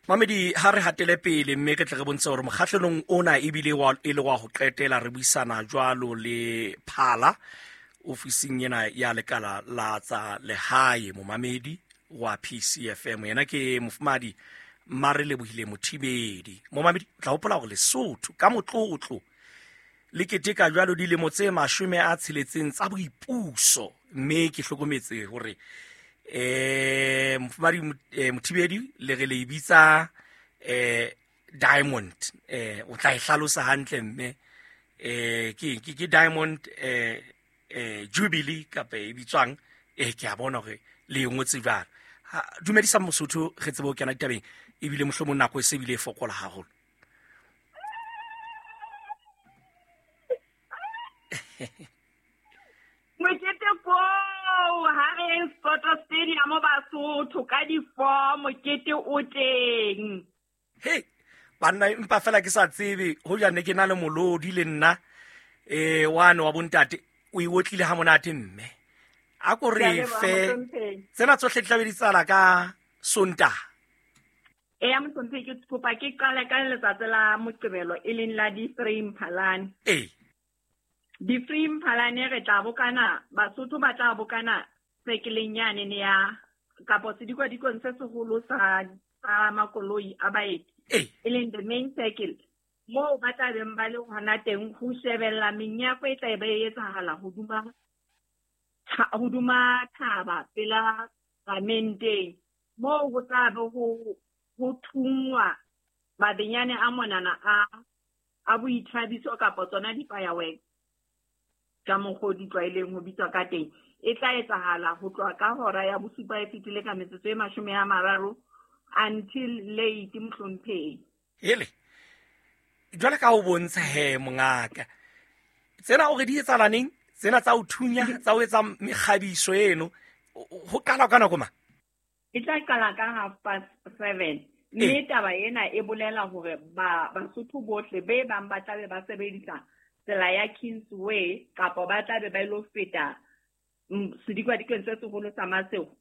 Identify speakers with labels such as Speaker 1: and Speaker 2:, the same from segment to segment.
Speaker 1: Mamedi, ha re hatele pele mme re tle re bontshe gore mokgahlelong ona ebile e le wa go qetela re buisana jwalo le Phala ofising ena ya lekala la tsa lehae. Momamedi wa PCFM yena ke mofumadi Mare Lebohile Mothibedi. Momamedi, o tla hopola gore Lesotho ka motlotlo le keteka jwalo dilemo tse 60 tsa boipuso, mme ke hlokometse hore mofumadi Mothibedi le re le bitsa Diamond, o tla e hlalosa hantle mme ke Diamond Jubilee kapa e bitswang, ke a bona hore le e ngotse jwalo. Dumedisa Mosotho, re tsebe ho kena ditabeng, ebile mohlomong nako e se bile e fokola haholo.
Speaker 2: Mokete koo ha re yeng Sport Stadium Basotho ka di-4, mokete o teng.
Speaker 1: Hey, banna, empa fela ke sa tsebe ho ja ne ke na le molodi le nna wane wa bontate o e otlile ha monate mme a ko re fe tsena tsohle di tlabe di tsala ka Sontaha.
Speaker 2: Eya mohlomphei, ke kopa ke qale ka letsatsi la Moqebelo e leng la di-3 Mphalane. Di-3 Mphalane re tla bokana, Basotho ba tla bokana sekeleng yane ne ya kapo sedikwadikong se seholo sa makoloi a baeti, e leng the main circle, moo ba tla beng ba le hona teng ho shebella menyako e tla be e etsahala hodima thaba pela ramenteng, moo ho tla be ho thungwa mabenyane a monana a boithabiso kapa tsona di-fireworks ka mokgwa o di tlwaeleng ho bitswa ka teng. E tla etsahala ho tloha ka hora ya 7 e fetile ka metsotso e 30 until late, mohlomphehi.
Speaker 1: Hele, jwale ka ho bontsha he mongaka, tsena o re di etsahala neng? Tsena tsa ho thunya, tsa ho etsa mekgabiso eno, ho qala ka nako mang?
Speaker 2: E tla qala ka 7:30. Mme taba ena e bolela hore Basotho bohle be bang ba tlabe ba sebedisa tsela ya Kingsway kapa ba tlabe ba ilo feta sedikwadikong se seholo sa Masego,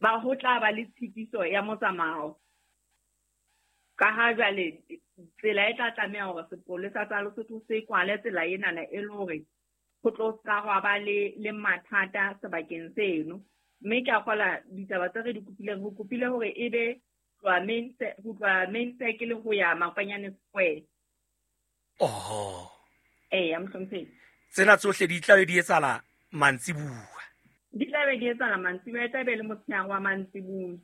Speaker 2: ba ho tla ba le tshitiso ya motsamao. Ka ha jwale tsela e tla tlameha hore sepolesa sa Lesotho se kwale tsela enana e le hore ho tlo ska hwa ba le mathata sebakeng seno. Mme ke a kgola ditaba tse re di kopileng, re kopile hore e be ho tloha main circle ho ya Makwanyane Square.
Speaker 1: Oho.
Speaker 2: Eya, mohlomphehi.
Speaker 1: Tsena tsohle di tla be di etsahala mantsibuya.
Speaker 2: Di tla be di etsahala mantsibuya, e tla be le motshehare wa mantsibuya.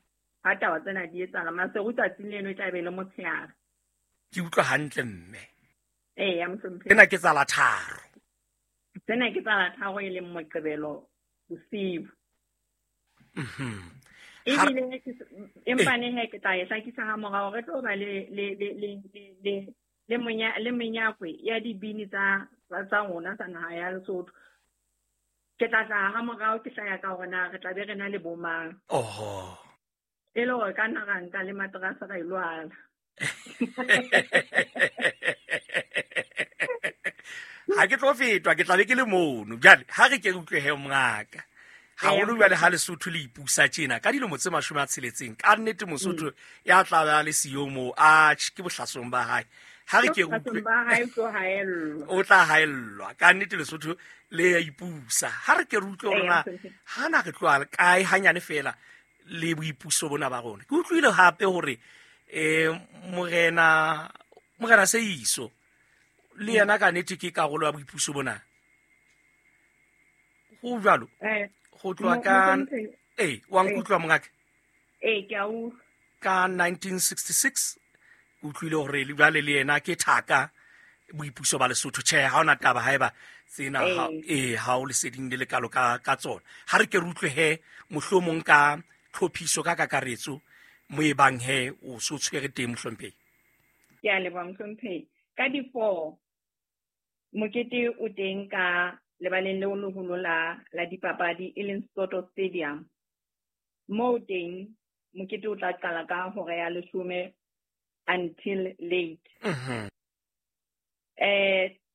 Speaker 2: Ha taba tsena di etsahala, Maseru tsatsing leno e tla be le motshehare.
Speaker 1: Ke utlwa hantle mme.
Speaker 2: Eya, mohlomphehi.
Speaker 1: Tsena ke tsa la 3.
Speaker 2: Tsena ke tsa la 3 e leng Moqebelo bosiu. Ebile empa ne he ke tla e hlakisa ha morao, re tlo ba le menyakwe ya dibini tsa rona tsa naha ya Lesotho. Ke tla tla ha morao ke hlaya ka hore na re tla be re na le bomang.
Speaker 1: Oho.
Speaker 2: E le hore ka nna ra nka le materase ra ilo ala.
Speaker 1: Ha ke tlo fetwa, ke tla be ke le mono. Jwale ha re ke re utlwe he mongaka. Haholo jwale ha Lesotho le ipusa tjena ka dilemo tse 60, ka nnete Mosotho ya tla ba le siyo moo, atjhe, ke bohlasong ba hae. Ha re ke re utlwe,
Speaker 2: Ba hae o tlo haellwa.
Speaker 1: O tla haellwa. Ka nnete Lesotho le ya ipusa. Ha re ke re utlwe hore na ha na re tloha kae hanyane fela le boipuso bona ba rona. Ke utlwile hape hore morena Seiso le yena ka nnete ke karolo ya boipuso bona. Ho jwalo? Ho tloha ka wa nkutlwa mongaka?
Speaker 2: Ee, ke a utlwa.
Speaker 1: Ka 1966 ke utlwile hore le jwale le yena ke thaka boipuso ba Lesotho. Tjhe, ha hona taba haeba tsena ha o leseding le lekalo ka tsona. Ha re ke re utlwe he mohlomong ka tlhophiso ka kakaretso mo e bang he o so tshwere teng mohlomphehi.
Speaker 2: Ke a leboha mohlomphehi. Ka di-4 mokete o teng ka lebaleng leo leholo la dipapadi e leng Soto Stadium. Moo teng mokete o tla qala ka hora ya 10 until late.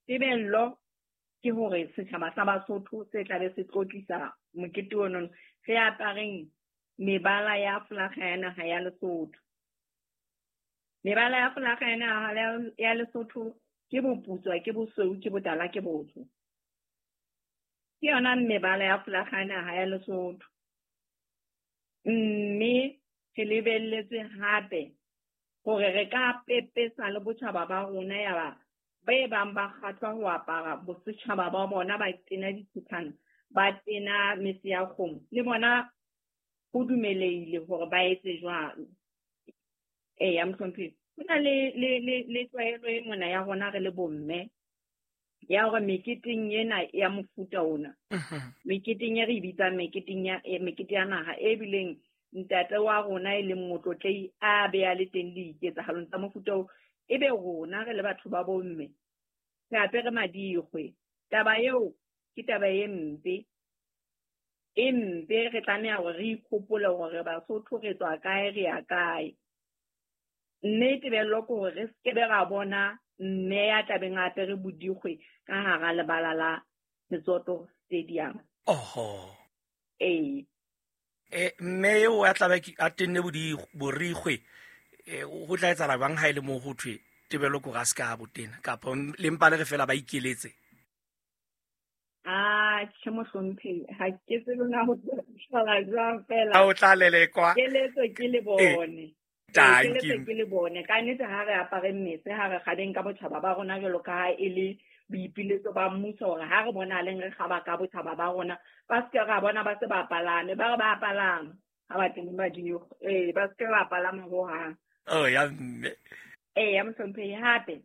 Speaker 2: Tebello ke hore setjhaba sa Basotho se tla be se tlotlisa mokete ono, re apareng mebala ya flaga ya naha ya Lesotho. Mebala ya folaga ya naha ya Lesotho ke boputswa, ke bosweu, ke botala, ke botsho. Ke yona mebala ya folaga ya naha ya Lesotho. Mme re lebelletse hape hore re ka pepesa le botjhaba ba rona ya ba be bang ba kgahlwa ho apara bosetjhaba ba bona, ba tena dithethana, ba tena mese ya kgomo, le bona ho dumelehile hore ba etse jwalo. Eya, mohlomphehi, ho na le tlwaelo e mona ya rona re le bomme ya hore meketeng ena ya mofuta ona, meketeng e re e bitsang meketeng ya mekete ya naha, e bileng ntate wa rona e leng motlotlei a be a le teng diketsahalong tsa mofuta oo, ebe rona re le batho ba bomme re apere madikgwe. Taba eo ke taba e mpe, e mpe. Re tlameha hore re ikhopole hore Basotho re tswa kae, re ya kae. Mme tebello ke hore re skebe ra bona mme ya tlabeng a apere bodikgwe ka hara lebala la Setsoto Stadium.
Speaker 1: Oho.
Speaker 2: Ee.
Speaker 1: Mme eo a tlabe a tenne borikgwe, ho tla etsahala jwang ha e le moo ho thwe tebello ke hore a se ka botena, kapa le mpa le re fela ba ikeletse?
Speaker 2: Ah, tjhe mohlomphehi, ha ke tsebe na ho tla jwang fela.
Speaker 1: Ha o tla lelekwa.
Speaker 2: Keletso ke le bone. Keletso ke le bone. Ka nnete ha re apare mmese, ha re kgabeng ka botjhaba ba rona jwalo ka ha e le boipiletso ba mmuso hore ha re bona leng re kgaba ka botjhaba ba rona, ba se ke ra bona ba se ba palame, ba re ba palama ha ba teng badikgwe. Ba se ke ba palama hohang.
Speaker 1: Oh, ya mme.
Speaker 2: Ya mohlomphehi, hape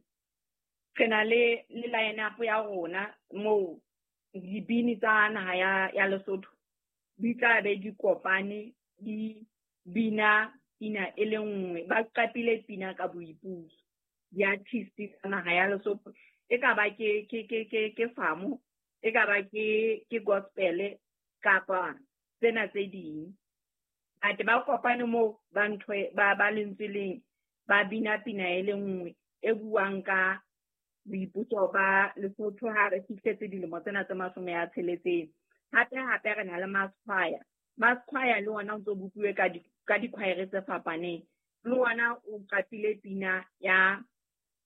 Speaker 2: re na le line up ya rona moo dibini tsa naha ya Lesotho di tla be di kopane, di bina pina e le nngwe, ba qapile pina ka boipuso. Di-artist tsa naha ya Lesotho, e ka ba ke famo, e ka ba ke gospel kapa tsena tse ding. Ate ba kopane moo ba ntho ba lentswe leng, ba bina pina e le nngwe e buang ka boipuso ba Lesotho ha re fihletse dilemo tsena tse 60. Hape hape re na le mass choir. Mass choir le ona o ntso bopuwe ka dikhwaere tse fapaneng. Le ona o qapile pina ya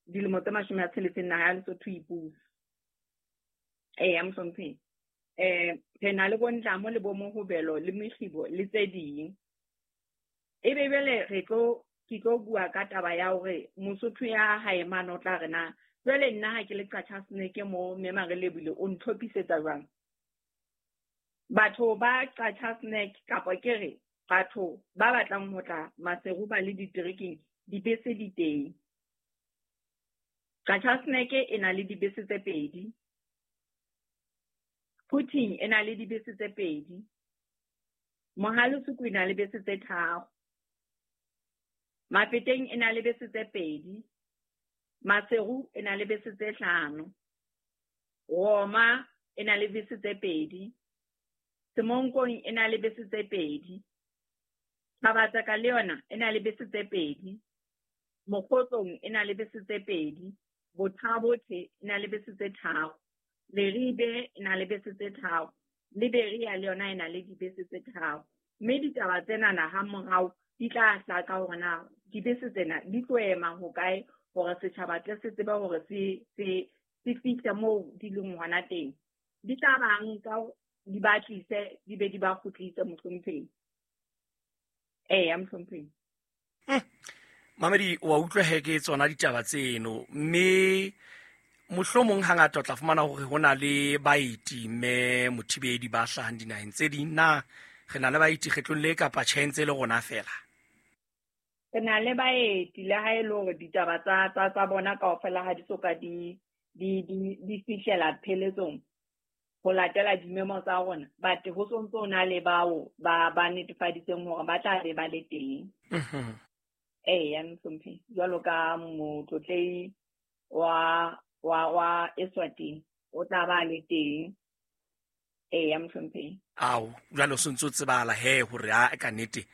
Speaker 2: dilemo tse 60 naha ya Lesotho ipuso. Eya mohlomphehi. Re na le bontlamo le bomohobelo le mekgibo le tse ding. Ebe jwale re tlo ke tlo bua ka taba ya hore Mosotho ya hae mane o tla re na jwale nna ha ke le Qacha's Nek mo mme Marelebile o ntlhophisetsa jwang? Batho ba Qacha's Nek kapa ke re batho ba batlang ho tla Maseru ba le diterekeng, dibese di teng. Qacha's Nek e na le dibese tse 2. Quthing e na le dibese tse 2. Mohale's e na le bese tse 3. Mafeteng e na le bese tse 2. Maseru e na le bese tse 5. Roma e na le bese tse 2. Semonkong e na le bese tse 2. Thabatseka le yona e na le bese tse 2. Mokgotlong e na le bese tse 2. Bothabothe e na le bese tse 3. Leribe e na le bese tse 3. Liberia le yona e na le dibese tse 3. Mme ditaba tsena ha morao di tla hlaka hore na dibese tsena di tlo ema hokae hore setjhaba tle se tsebe hore se fihle moo di leng hona teng. Di tla ba nka di ba tlise, di be di ba kgutlise mohlomphehi. Eya mohlomphehi.
Speaker 1: Mamedi, wa utlwa he ke tsona ditaba tseno, mme mohlomong hangata o tla fumana hore ho na le baeti mme mothibedi ba hlahang dinaheng tse ding. Na re na le baeti kgetlong le kapa tjhe ntse le rona fela?
Speaker 2: Re na le baeti, le ha e le hore ditaba tsa bona kaofela ha di soka di fihlela pheletsong ho latela dimemo tsa rona, but ho sontso ho na le bao ba netefaditseng hore ba tla be ba le teng. Eya mohlomphehi, jwalo ka motlotlehi wa Eswatini o tla ba le teng. Eya mohlomphehi.
Speaker 1: Ao, jwale o sontso tsebahala he hore a ka nnete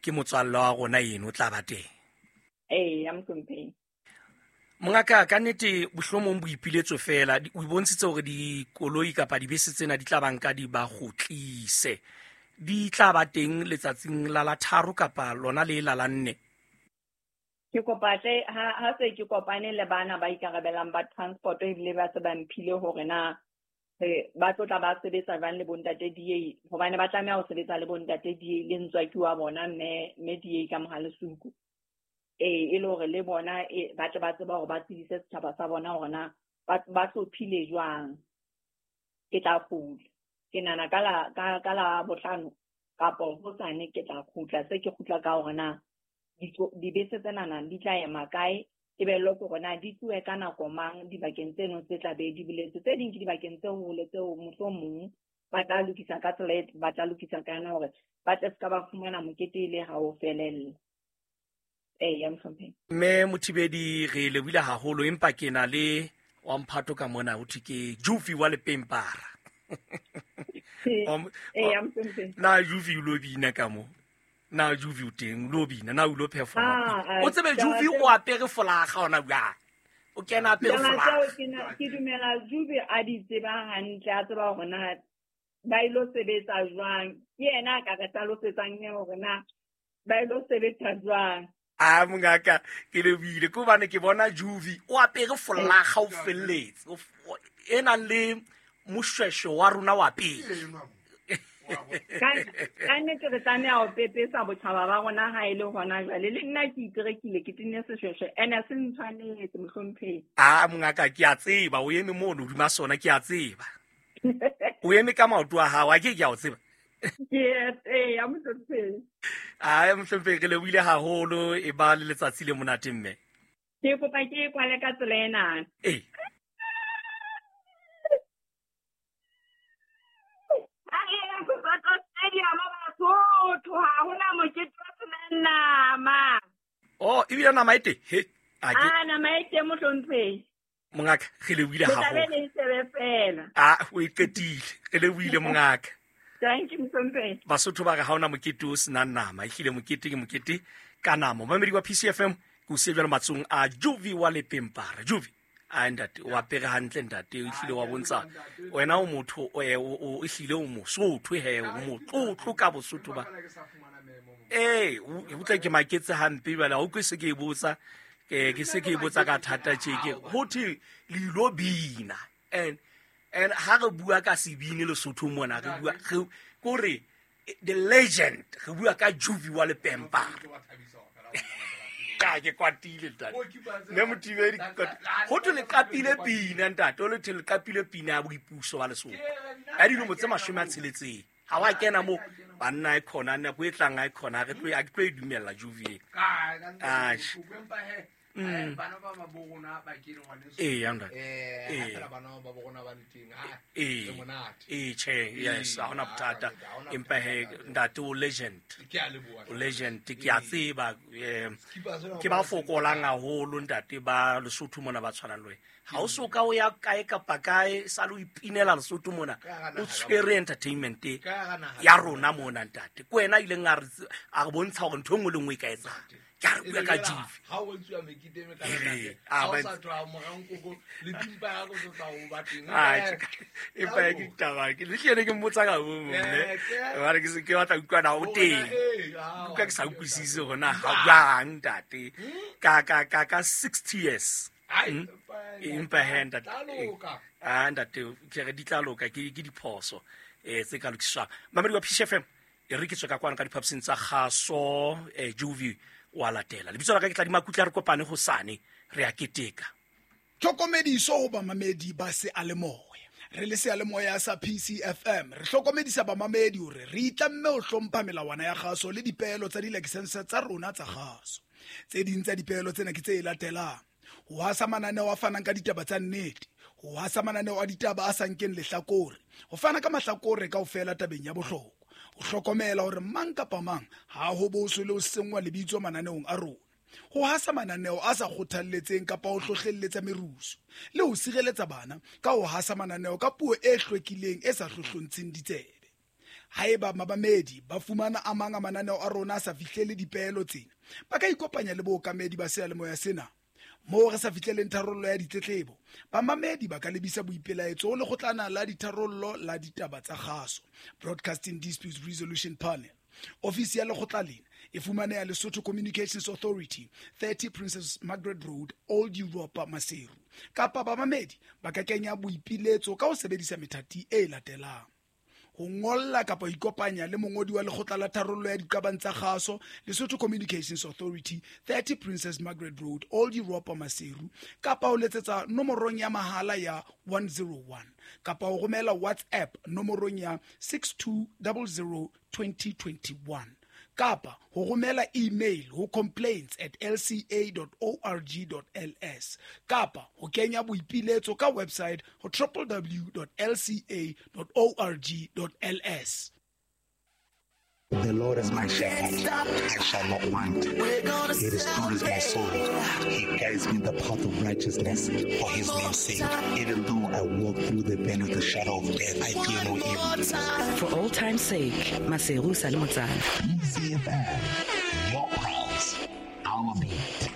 Speaker 1: ke motswalle wa rona eno o tla ba teng.
Speaker 2: Eya mohlomphehi.
Speaker 1: Mongaka, ka nnete bohlomong boipiletso fela, o bontshitse hore dikoloi kapa dibese tsena di tla ba nka di ba kgutlise. Di tla ba teng letsatsing la 3 kapa lona le la 4?
Speaker 2: Ke Ke kopa tle ha se ke kopane le bana ba ikarabelang ba transport ebile ba se ba mphile hore na ba tlo tla ba sebetsa jwang le bontate DA, hobane ba tlameha ho sebetsa le bontate DA le ntswaki wa bona mme DA ka Mohalesuku. E le hore le bona ba tle ba tseba hore ba tsebise setjhaba sa bona hore na ba hlophile jwang. Ke tla kgutla. Ke nahana ka la bohlano kapa hosane ke tla kgutla. Se ke kgutla ka hore na dibese tsenana di tla ema kae, tebello ke hore na di tlohe ka nako mang dibakeng tseno tse tla be di boletswe. Tse ding ke dibakeng tse hole tseo mohlomong ba tla lokisa ka tsela e ba tla lokisa ka yona hore ba tle se ka ba fumana mokete e le ha o felella. Ya mohlomphehi.
Speaker 1: Mme Mothibedi, re lebohile haholo, empa ke na le wa mphato ka mona ho thwe ke Jufi wa Lepempara.
Speaker 2: Ya mohlomphehi.
Speaker 1: Na Jufi o lo bina ka mo? Na Jufi o teng, o lo bina, na o lo performa? O tsebe Jufi o apere folaga hona jwang? O kena apere folaga.
Speaker 2: Ke dumela Jufi a di tseba hantle, a tseba hore na ba ilo sebetsa jwang. Ke yena a ka re hlalosetsang hore na ba ilo sebetsa jwang.
Speaker 1: A mongaka, ke lebohile ke hobane ke bona Jufi o apere folaga o felletse, e nang le moshweshwe wa rona wa pele.
Speaker 2: Ka nnete re tlameha ho pepesa botjhaba ba rona ha e le hona jwale. Le nna ke iterekile, ke tenne seshweshwe, ene se ntshwanetse mohlomphehi.
Speaker 1: A mongaka, ke a tseba o eme mono hodima sona, ke a tseba. O eme ka maoto a hao, a ke a o tseba.
Speaker 2: Ke ya mohlomphehi.
Speaker 1: A mohlomphehi, re lebohile haholo, e ba le letsatsi le monate mme.
Speaker 2: Ke kopa ke kwale ka tsela ena.
Speaker 1: Ee.
Speaker 2: Ha hona mokete o senang nama.
Speaker 1: Oh, ebile nama e teng? He, a ke.
Speaker 2: A nama e teng mohlomphehi.
Speaker 1: Mongaka, re lebohile
Speaker 2: Le tla be
Speaker 1: haholo.
Speaker 2: le shebe fela.
Speaker 1: A, o e qetile. Re lebohile mongaka.
Speaker 2: Thank you, mohlomphehi.
Speaker 1: Basotho ba re ha hona mokete o senang nama. Ehlile mokete ke mokete ka nama. Momamedi wa PCFM, ke o siya jwalo matsohong a Juvi wa Lepempara. Juvi, a ntate, o apere hantle ntate, o ehlile wa bontsha wena o motho, o ehlile o mosotho he, o motlotlo ka bosotho ba. O tla ke maketse hampe jwale, ha o ke se ke e botsa, ke se ke e botsa ka thata tje, ke ho thwe le ilo bina. And ha re bua ka sebini Lesotho mona, re bua, re, kore, the legend, re bua ka Juvi wa Lepempara. Ka ke kwatile ntate. Mme Mothibedi ke kwatile. Ho thwe le qapile pina ntate, ho thwe le qapile pina ya boipuso ba Lesotho. Ya dilemo tse 60. Ha wa kena moo, banna e khona, nako e tlang ha e khona, re tlo, ha ke tlo e dumella Juvi e. Atjhe.
Speaker 3: Bana ba ba bo rona ba kene ngwaneso.
Speaker 1: Ee, ya ntate.
Speaker 3: Ha fela bana ba bo rona ba le teng, ha, re monate.
Speaker 1: Ee, tjhe, yes, ha hona bothata.
Speaker 3: Ha hona
Speaker 1: Empa he,
Speaker 3: bothata.
Speaker 1: ntate o legend.
Speaker 3: Ke a leboha.
Speaker 1: O legend, ke a tseba,
Speaker 3: Skipa sena
Speaker 1: ke ba
Speaker 3: hobane
Speaker 1: fokolang haholo ntate ba Lesotho mona ba tshwanang le wena. Ha o so ka o ya kae kapa kae, sa le o ipinela Lesotho mona,
Speaker 3: Ka hara
Speaker 1: o
Speaker 3: naha ka
Speaker 1: tshwere
Speaker 3: mona.
Speaker 1: entertainment
Speaker 3: Ka hara naha
Speaker 1: ya
Speaker 3: ka
Speaker 1: rona
Speaker 3: mona.
Speaker 1: mona ntate. Ke wena a ileng a re bontsha hore ntho e nngwe le nngwe e ka etsahala. Ke a re bua ka Juvi.
Speaker 3: Ha o etsuwa mekete e mekana
Speaker 1: Ee,
Speaker 3: ntate,
Speaker 1: a
Speaker 3: ha o
Speaker 1: ba
Speaker 3: sa tloha morao nkoko, le dimpa ya go tla o ba teng.
Speaker 1: Ah, empa ke taba, ke le hlile ke mmotsa ka bo mme. Hobane ke se ke batla ho utlwa na o
Speaker 3: Hore
Speaker 1: teng.
Speaker 3: na, ha,
Speaker 1: Utlwa ke sa
Speaker 3: wa
Speaker 1: utlwisise
Speaker 3: tseba.
Speaker 1: hore na ha jwang ntate. Ka 60 years.
Speaker 3: Ai,
Speaker 1: Empa he, ntate.
Speaker 3: Tla loka.
Speaker 1: Ah, ntate, ke re di tla loka, ke diphoso, tse ka lokiswang. Mamedi wa PCFM, e re ke tswe ka kwano ka diphaposing tsa kgaso, Juvi wa latela. Lebitso la ka ke Tladi Makutla, re kopane hosane, re a keteka.
Speaker 4: Tlhokomediso ho bamamedi ba seyalemoya. Re le seyalemoya sa PCFM, re hlokomedisa bamamedi hore re itlamme ho hlompha melawana ya kgaso le dipeelo tsa dilakesense tsa rona tsa kgaso. Tse ding tsa dipeelo tsena ke tse latelang: ho hasa mananeo a fanang ka ditaba tsa nnete, ho hasa mananeo a ditaba a sa nkeng lehlakore, ho fana ka mahlakore kaofela tabeng ya bohlokwa, ho hlokomela hore mang kapa mang ha ho boswe le ho senngwa lebitso mananeong a rona, ho hasa mananeo a sa kgothalletseng kapa ho hlohlelletsa merusu, le ho sireletsa bana ka ho hasa mananeo ka puo e hlwekileng e sa hlohlontsheng ditsebe. Haeba mamamedi ba fumana a mang a mananeo a rona a sa fihlele dipeelo tsena, ba ka ikopanya le bookamedi ba seyalemoya sena. Moo re sa fihleleng tharollo ya ditletlebo, bamamedi ba ka lebisa boipelaetso ho lekgotlana la ditharollo la ditaba tsa kgaso, Broadcasting Disputes Resolution Panel. Ofisi ya lekgotla lena E fumaneha Lesotho Communications Authority, 30 Princess Margaret Road, Old Europa, Maseru. Kapa bamamedi ba ka kenya boipiletso ka ho sebedisa methati e latelang: ho ngolla kapa ho ikopanya le mongodi wa lekgotla la tharollo ya diqabang tsa kgaso, Lesotho Communications Authority, 30 Princess Margaret Road, Old Europa, Maseru, kapa ho letsetsa nomorong ya mahala ya 101, kapa ho romela WhatsApp nomorong ya 6200 2021, kapa ho romela email ho complaints@lca.org.ls, kapa ho kenya boipiletso ka website ho www.lca.org.ls.
Speaker 5: The Lord is my shepherd, I shall not want. He restores my soul. He guides me in the path of righteousness for his name's sake. Even though I walk through the valley of the shadow of death, I fear no evil.
Speaker 6: For all time's sake, Maseru sa le motsana.
Speaker 5: PCFM, your pulse, our beat.